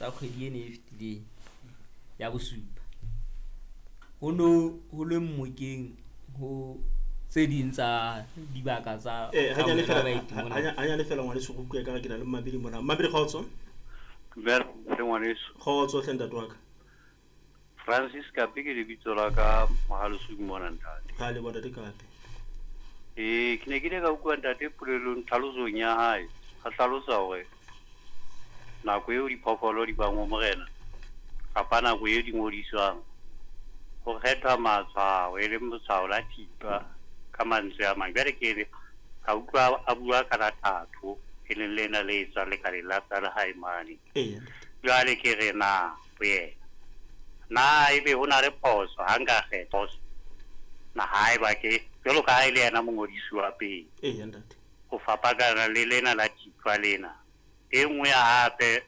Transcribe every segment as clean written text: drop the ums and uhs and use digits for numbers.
tsa kgwedi ena e fetileng ya bosupa. Ho no ho le mmokeng ho tse ding tsa dibaka tsa Eh, hanyane kamohelo ya fela baeti mona. hanyane fela ngwaneso go bua ka re ke na le mmabedi mona. Mmabedi kgotso. Dumela hle ngwaneso. Kgotso hle ntate wa ka. Francis Kape ke lebitso la ka Mohalesuku mona ntate. Ra leboha ntate Kape. Ee, ke ne ke ile ka utlwa ntate polelong tlhalosong ya hae. A hlalosa hore nako eo diphoofolo di bang ho morena kapa nako eo di ngodiswang ho kgethwa matshwao e leng letshwao la thipa ka mantswe a mang. Jwale ke re ka utlwa a bua ka la thatho e leng lena le etswang lekaleng la tsa lehae mane. Eya ntate. Jwale ke re na ho yena na ebe ho na le phoso ha nka kgetha phoso na haeba ke jwalo ka ha e le yena mongodisi wa pele Eya ntate. ho fapakana le lena la thipa lena. E nngwe hape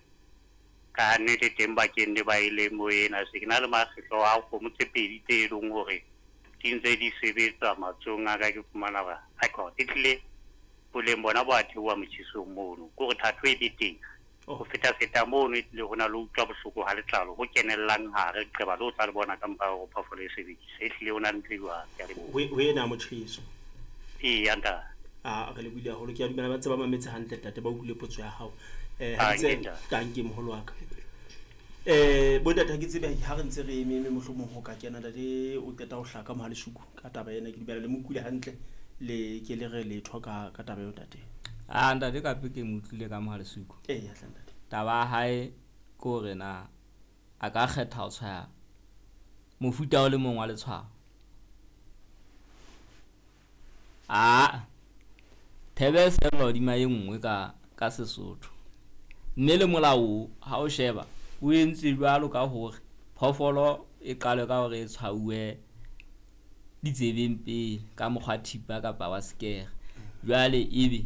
ka nnete teng bakeng le ba ileng mo ena se ke na le makgetlo a kgomo tse pedi tse leng hore di ntse di sebetsa matsohong a ka ke fumana hore record e tlile boleng bona bo a theoha motjhesong mono. Ke hore thatho e be teng. Oh. Ho feta-feta mono e tlile ho na le ho utlwa bohloko ha letlalo ho kenellang hare leqeba le o tla le bona ka mora hore phoofolo e sebedise. E hlile ho na le ntho e jwalo. Ke a leboha. Ho ena motjheso. Eya ntate. A re lebohile haholo. Ke a dumela ba ntse ba mametse hantle ntate ba utlwile potso ya hao. Eh ha Ah, ke tse nke ntate. tanke moholo wa ka. Bo ntate ha ke tsebe ha re ntse re eme mohlomong ho ka kena ntate o qeta ho hlaka Mohalesuku ka taba ena ke dumela le mo utlwile hantle le ke le re letho ka taba eo ntate. Ah, ntate Kape ke mo utlwile ka Mohalesuku. Eya hle ntate. Taba ya hae ke hore na a ka kgetha ho tshwaya mofuta o le mong wa letshwao. Ah, thebe e sella hodima e nngwe ka Sesotho. Mme le molao ha o sheba o entse jwalo ka hore phoofolo e qalwe ka hore e tshwauwe ditsebeng pele ka mokgwa thipa kapa wa sekere. Jwale ebe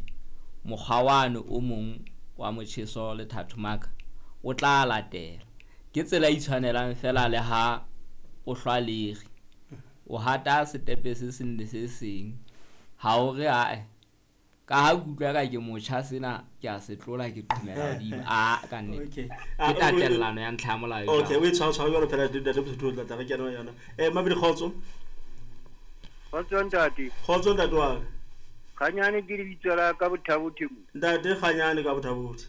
mokgwa wane o mong wa motjheso le thathomaka o tla latela. Ke tsela e itshwanelang fela le ha o hlwa lere. O hata setepe se seng le se seng. Ha o re ae ka ha ke utlwa ka ke motjha sena ke a se tlola ke qhomela hodimo. Ah, ka nnete. Okay. Ke tatellano ya ntlha ya molao e Okay, jwalo. o e tshwara jwalo phela ntate Mosotho o tla tla re kena ho yona. Mabedi kgotso. Kgotso ntate. Kgotso ntate wa ka. Kganyane ke lebitso la ka Bothabothe mo. Ntate Kganyane ka Bothabothe.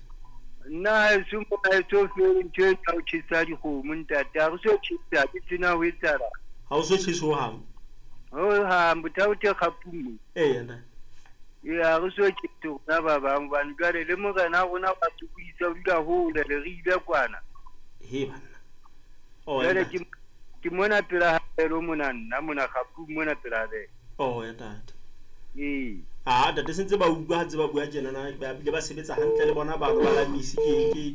Nna haeso mo haeso fele ntho e tsa ho tjhesa dikgomo ntate. Ha re so tjhesa ke tsena ho etsahala. Ha o so tjhese hohang. Hohang Bothabothe kgapung mo. Eya ntate. Ee, ha re so tjhese rona ba bang hobane jwale le morena wa rona wa sokodisa o dula hole le re ile kwana. He banna. Oh, Jwale ntate. ke mona pela habelo mona nna mona kgapung mona pela habelo. Oh, ya ntate. Ee. Ah, ntate se ntse ba utlwa ha ntse ba bua tjena na ba bile ba sebetsa hantle le bona bano ba lamisi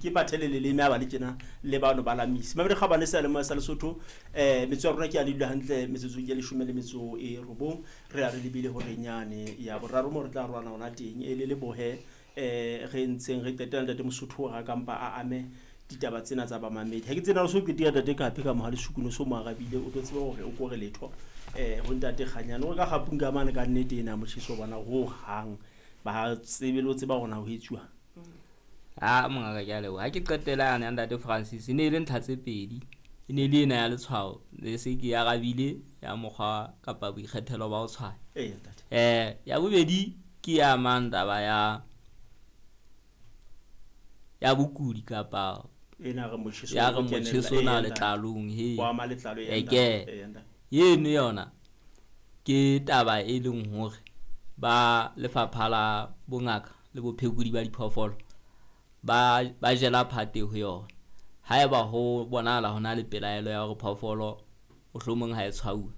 ke bathele leleme ha ba le tjena le bano ba lamisi. Mabedi kgabane sa le sa Lesotho metso ya rona ke a le dula hantle metsotsong e 19 re a re lebile hore nyane ya boraro mo re tla rwana hona teng e le lebohe re ntseng re qetela ntate Mosotho ra kampa a ame ditaba tsena tsa bamamedi. Ha ke tsena so qetia ntate Kape ka Mohalesuku no so mo arabile o tlo tseba hore o kore letho ho ntate Kganyane o re ka kgapung ka mane ka nnete ena motjheso bona ho hang ba tsebe le ho tseba hore na ho etsuwa. Ah, mongaka ke a leboha. Ha ke qetela yane ya ntate Francis e ne e le ntlha tse pedi. E ne le ena ya letshwao le se ke arabile ya mokgwa kapa boikgethelo ba ho tshwaya. Eya ntate. Ya bobedi ke ya mang taba ya bokudi kapa ena re motjheso ya re o kenella, motjheso na eya ntate. letlalong he. Wa ama letlalo, eya E ntate, ke. eya ntate. Eno yona ke taba e leng hore ba lefapha la bongaka le bophekodi ba diphoofolo ba jela phate ho yona. Haeba ho bonahala ho na le pelaelo ya hore phoofolo mohlomong ha e tshwauwe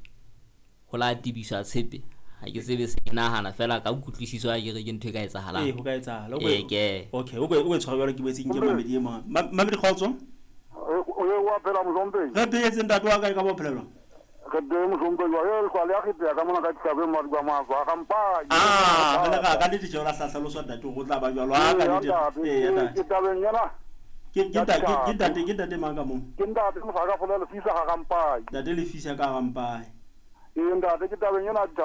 ho la tebiswa tshepe. Ha ke tsebe se ke nahana fela ka kutlwisiso ha ke re ke ntho e ka etsahalang. Ee, ho ka etsahala. Ee, ke. Okay, o e tshwara jwalo ke boetse nke Mamedi e mong. Mamedi kgotso. O ye wa phela mohlomphehi. Re phetse ntate wa ka e ka ba phelelwa. Re teng mohlomphehi wa e hlwa le ya kgetheha ka mona ka ditlhako e madi ba matswa a gampai. Ah, re ka nnete tjhe o la hlalosa ntate hore o tla ba jwalo. Ah, ka Ee, nnete. ntate, Ee, ntate. ke tabeng ena. Ke ntate mang ka moo? Ke ntate Mosaka Fola Lefisa ga Gampai. Ntate Lefisa ka Gampai. Ee, ntate, ke tabeng ena